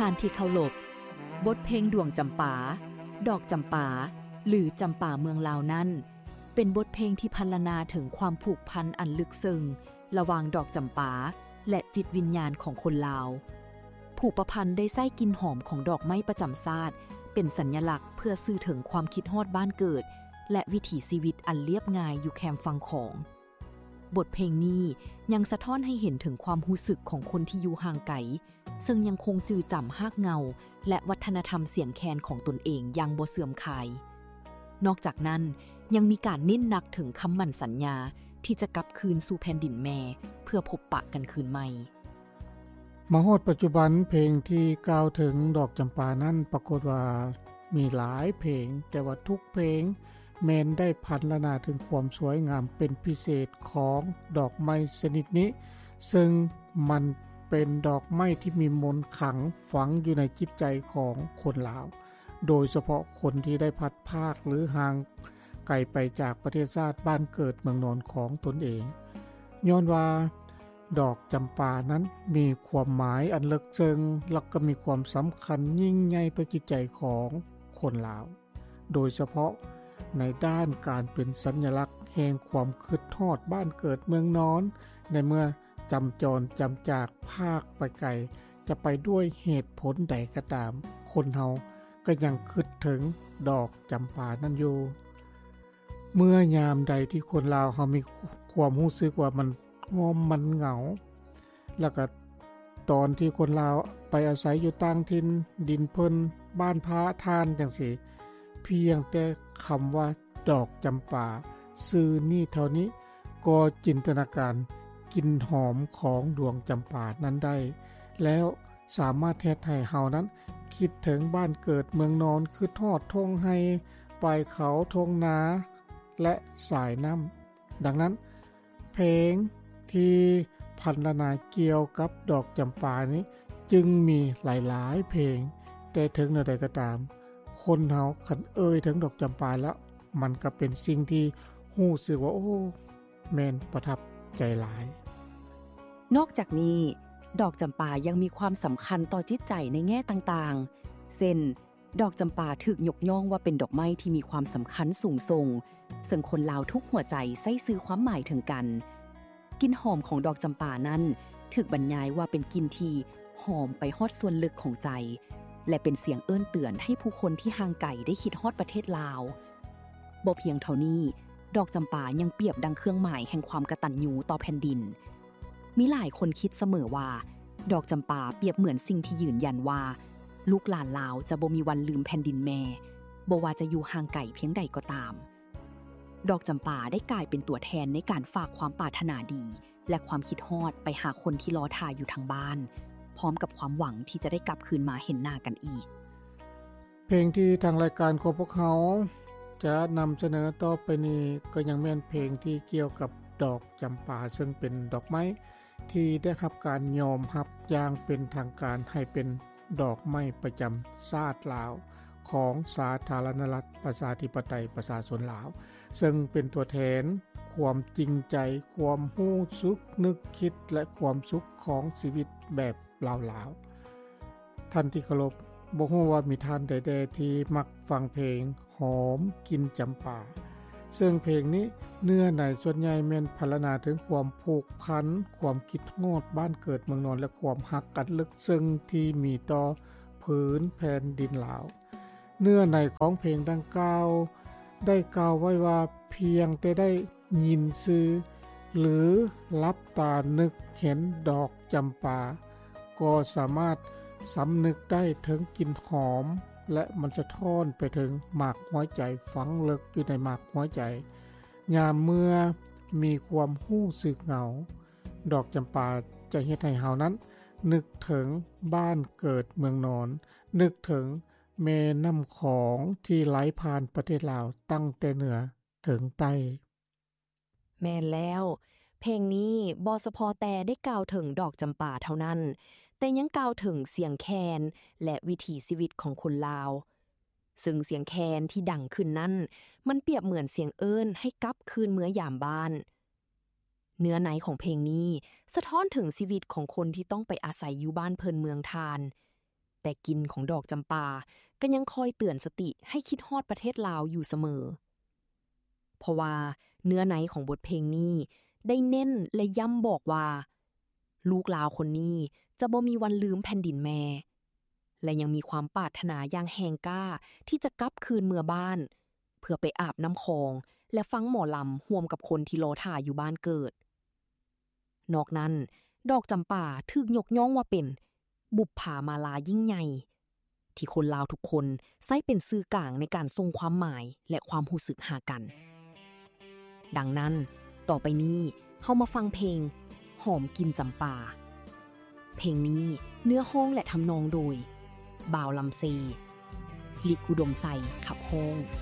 ທ່ານທີ່ເຄົາລົບ, ບົດເພງດວງຈຳປາ, ດອກຈຳປາ ຫຼື ຈຳປາເມືອງລາວນັ້ນ ເປັນບົດເພງທີ່ພັນລະນາເຖິງຄວາມຜູກພັນອັນເລິກເຊິ່ງລະຫວ່າງດອກຈຳປາ ແລະ ຈິດວິນຍານຂອງຄົນລາວ. ຜູ້ປະພັນໄດ້ໃຊ້ກິ່ນຫອມຂອງດອກໄມ້ປະຈຳຊາດເປັນສັນຍະລັກເພື່ອສື່ເຖິງຄວາມຄິດຮອດບ້ານເກີດ ແລະ ວິຖີຊີວິດອັນລຽບງ່າຍຢູ່ແຄມຝັ່ງຂອງ. ບົດເພງນີ້ຍັງສະທ້ອນໃຫ້ເຫັນເຖິງຄວາມຮູ້ສຶກຂອງຄົນທີ່ຢູ່ຫ່າງໄກ ເຊິ່ງຍັງຄົງຈື່ຈຳຮາກເງົາ ແລະ ວັດທະນະທຳສຽງແຄນຂອງຕົນເອງຢ່າງບໍ່ເສື່ອມຄາຍ. ນອກຈາກນັ້ນ, ຍັງມີການເນັ້ນໜັກເຖິງຄຳໝັ້ນສັນຍາທີ່ຈະກັບຄືນສູ່ແຜ່ນດິນແມ່ເພື່ອພົບປະກັນຄືນໃໝ່. ມາຮອດປັດຈຸບັນ, ເພງທີ່ກ່າວເຖິງດອກຈຳປານັ້ນ ປາກົດວ່າມີຫຼາຍເພງ, ແຕ່ວ່າທຸກເພງ ແມ່ນໄດ້ພັນລະນາເຖິງຄວາມສວຍງາມເປັນພິເສດຂອງດອກໄມ້ຊະນິດນີ້, ເຊິ່ງມັນເປັນດອກໄມ້ທີ່ມີມົນຂັງຝັງຢູ່ໃນຈິດໃຈຂອງຄົນລາວ, ໂດຍສະເພາະຄົນທີ່ໄດ້ພັດພາກ ຫຼື ຫ່າງໄກໄປຈາກປະເທດຊາດບ້ານເກີດເມືອງນອນຂອງຕົນເອງ. ຍ້ອນວ່າດອກຈຳປານັ້ນມີຄວາມໝາຍອັນເລິກເຊິ່ງ ແລະ ກໍມີຄວາມສຳຄັນຍິ່ງໃຫຍ່ຕໍ່ຈິດໃຈຂອງຄົນລາວ. ໂດຍສະເພາະໃນດ້ານການເປັນສັນຍະລັກແຫ່ງຄວາມຄິດຮອດບ້ານເກີດເມືອງນອນ, ໃນເມື່ອຈຳຈອນຈຳຈາກພາກໄປໄກ ຈະໄປດ້ວຍເຫດຜົນໃດກໍຕາມ, ຄົນເຮົາກໍຍັງຄິດເຖິງດອກຈຳປານັ້ນຢູ່. ເມື່ອຍາມໃດທີ່ຄົນລາວເຮົາມີຄວາມຮູ້ສຶກວ່າມັນງ່ອມ ມັນເຫງົາ, ແລ້ວກໍຕອນທີ່ຄົນລາວໄປອາໄສຢູ່ຕ່າງຖິ່ນ ດິນເພິ່ນ ບ້ານພະທ່ານຈັ່ງຊີ້, ພຽງແຕ່ຄຳວ່າດອກຈຳປາຊື່ນີ້ເທົ່ານີ້ ກໍຈິນຕະນາການກິ່ນຫອມຂອງດວງຈຳປານັ້ນໄດ້ ແລ້ວສາມາດເຮັດໃຫ້ເຮົານັ້ນຄິດເຖິງບ້ານເກີດເມືອງນອນ, ຄິດຮອດທົ່ງໄຮ່ ປາຍເຂົາ, ທົ່ງນາ ແລະ ສາຍນ້ຳ. ດັ່ງນັ້ນ, ເພງທີ່ພັນລະນາກ່ຽວກັບດອກຈຳປານີ້ຈຶ່ງມີຫຼາຍໆເພງ, ແຕ່ເຖິງແນວໃດກໍຕາມ, ຄົນເຮົາຄັນເອີ່ຍເຖິງດອກຈຳປາແລ້ວ, ມັນກໍເປັນສິ່ງທີ່ຮູ້ສຶກວ່າ, ໂອ້, ແມ່ນປະທັບໃຈຫຼາຍ. ນອກຈາກນີ້, ດອກຈຳປາຍັງມີຄວາມສຳຄັນຕໍ່ຈິດໃຈໃນແງ່ຕ່າງໆ ເຊັ່ນ, ດອກຈຳປາຖືກຍົກຍ້ອງວ່າເປັນດອກໄມ້ທີ່ມີຄວາມສຳຄັນສູງສົ່ງ, ເຊິ່ງຄົນລາວທຸກຫົວໃຈໃຊ້ສື່ຄວາມໝາຍເຖິງກັນ. ກິ່ນຫອມຂອງດອກຈຳປານັ້ນຖືກບັນຍາຍວ່າເປັນກິ່ນທີ່ຫອມໄປຮອດສ່ວນເລິກຂອງໃຈ ແລະ ເປັນສຽງເອີ້ນເຕືອນໃຫ້ຜູ້ຄົນທີ່ຫ່າງໄກໄດ້ຄິດຮອດປະເທດລາວ. ບໍ່ພຽງເທົ່ານີ້, ດອກຈຳປາຍັງປຽບດັ່ງເຄື່ອງໝາຍແຫ່ງຄວາມກະຕັນຍູຕໍ່ແຜ່ນດິນ. ມີຫຼາຍຄົນຄິດສະເໝີວ່າ ດອກຈຳປາປຽບເໝືອນສິ່ງທີ່ຢືນຢັນວ່າ ລູກຫຼານລາວຈະບໍ່ມີວັນລືມແຜ່ນດິນແມ່, ບໍ່ວ່າຈະຢູ່ຫ່າງໄກພຽງໃດກໍຕາມ. ດອກຈຳປາໄດ້ກາຍເປັນຕົວແທນໃນການຝາກຄວາມປາດຖະໜາດີ ແລະ ຄວາມຄິດຮອດໄປຫາຄົນທີ່ລໍຖ້າຢູ່ທາງບ້ານ, ພ້ອມກັບຄວາມຫວັງທີ່ຈະໄດ້ກັບຄືນມາເຫັນໜ້າກັນອີກ. ເພງທີ່ທາງລາຍການຂອງພວກເຮົາຈະນຳສະເໜີຕໍ່ໄປນີ້ ກໍຍັງແມ່ນເພງທີ່ກ່ຽວກັບດອກຈຳປາ, ເຊິ່ງເປັນດອກໄມ້ທີ່ໄດ້ຮັບການຍອມຮັບຢ່າງເປັນທາງການໃຫ້ເປັນດອກໄມ້ປະຈຳຊາດລາວ ຂອງສາທາລະນະລັດ ປະຊາທິປະໄຕ ປະຊາຊົນລາວ, ເຊິ່ງເປັນຕົວແທນຄວາມຈິງໃຈ, ຄວາມຮູ້ສຶກນຶກຄິດ ແລະ ຄວາມສຸກຂອງຊີວິດແບບລາວໆ. ທ່ານທີ່ເຄົາລົບ, ບໍ່ຮູ້ວ່າມີທ່ານໃດແດ່ທີ່ມັກຟັງເພງຫອມກິ່ນຈຳປາ, ເຊິ່ງເພງນີ້ເນື້ອໃນສ່ວນໃຫຍ່ແມ່ນພັນລະນາເຖິງຄວາມຜູກພັນ, ຄວາມຄິດຮອດບ້ານເກີດເມືອງນອນ ແລະ ຄວາມຮັກອັນເລິກເຊິ່ງທີ່ມີຕໍ່ພື້ນແຜ່ນດິນລາວ. ເນື້ອໃນຂອງເພງດັ່ງກ່າວໄດ້ກ່າວໄວ້ວ່າ ພຽງແຕ່ໄດ້ຍິນຊື່ ຫຼື ຫຼັບຕານຶກເຫັນດອກຈຳປາ ກໍສາມາດສຳນຶກໄດ້ເຖິງກິ່ນຫອມ ແລະ ມັນສະທ້ອນໄປເຖິງໝາກຫົວໃຈຝັງເລິກຢູ່ໃນໝາກຫົວໃຈ. ຍາມເມື່ອມີຄວາມຮູ້ສຶກເຫງົາ, ດອກຈຳປາຈະເຮັດໃຫ້ເຮົານັ້ນນຶກເຖິງບ້ານເກີດເມືອງນອນ, ນຶກເຖິງ ແມ່ນ້ຳຂອງທີ່ໄຫຼຜ່ານປະເທດລາວຕັ້ງແຕ່ເໜືອເຖິງໃຕ້. ແມ່ນແລ້ວ, ເພງນີ້ບໍ່ສະເພາະແຕ່ໄດ້ກ່າວເຖິງດອກຈຳປາເທົ່ານັ້ນ, ແຕ່ຍັງກ່າວເຖິງສຽງແຄນ ແລະ ວິຖີຊີວິດຂອງຄົນລາວ. ເຊິ່ງສຽງແຄນທີ່ດັງຂຶ້ນນັ້ນ, ມັນປຽບເໝືອນສຽງເອີ້ນໃຫ້ກັບຄືນເມືອຢາມບ້ານ. ເນື້ອໃນຂອງເພງນີ້ສະທ້ອນເຖິງຊີວິດຂອງຄົນທີ່ຕ້ອງໄປອາໄສຢູ່ບ້ານເພິ່ນເມືອງທ່ານ. ແຕ່ກິ່ນຂອງດອກຈຳປາກໍຍັງຄອຍເຕືອນສະຕິໃຫ້ຄິດຮອດປະເທດລາວຢູ່ສະເໝີ. ເພາະວ່າເນື້ອໃນຂອງບົດເພງນີ້ໄດ້ເນັ້ນ ແລະ ຢ້ຳບອກວ່າ ລູກລາວຄົນນີ້ຈະບໍ່ມີວັນລືມແຜ່ນດິນແມ່ ແລະ ຍັງມີຄວາມປາດຖະໜາຢ່າງແຮງກ້າທີ່ຈະກັບຄືນເມືອບ້ານ ເພື່ອໄປອາບນ້ຳຂອງ ແລະ ຟັງໝໍລຳຮ່ວມກັບຄົນທີ່ລໍຖ້າຢູ່ບ້ານເກີດ. ນອກນັ້ນ, ດອກຈຳປາຖືກຍົກຍ້ອງວ່າເປັນບຸບຜາມາລາຍິ່ງໃຫຍ່ ທີ່ຄົນລາວທຸກຄົນໃຊ້ເປັນສື່ກາງໃນການສົ່ງຄວາມໝາຍ ແລະ ຄວາມຮູ້ສຶກຫາກັນ. ດັ່ງນັ້ນ, ຕໍ່ໄປນີ້ເຮົາມາຟັງເພງ ຫອມກິ່ນຈຳປາ. ເພງນີ້ເນື້ອຮ້ອງ ແລະ ທຳນອງໂດຍ ບ່າວລຳເຊ, ລິກ ອຸດົມໄຊ ຂັບຮ້ອງ.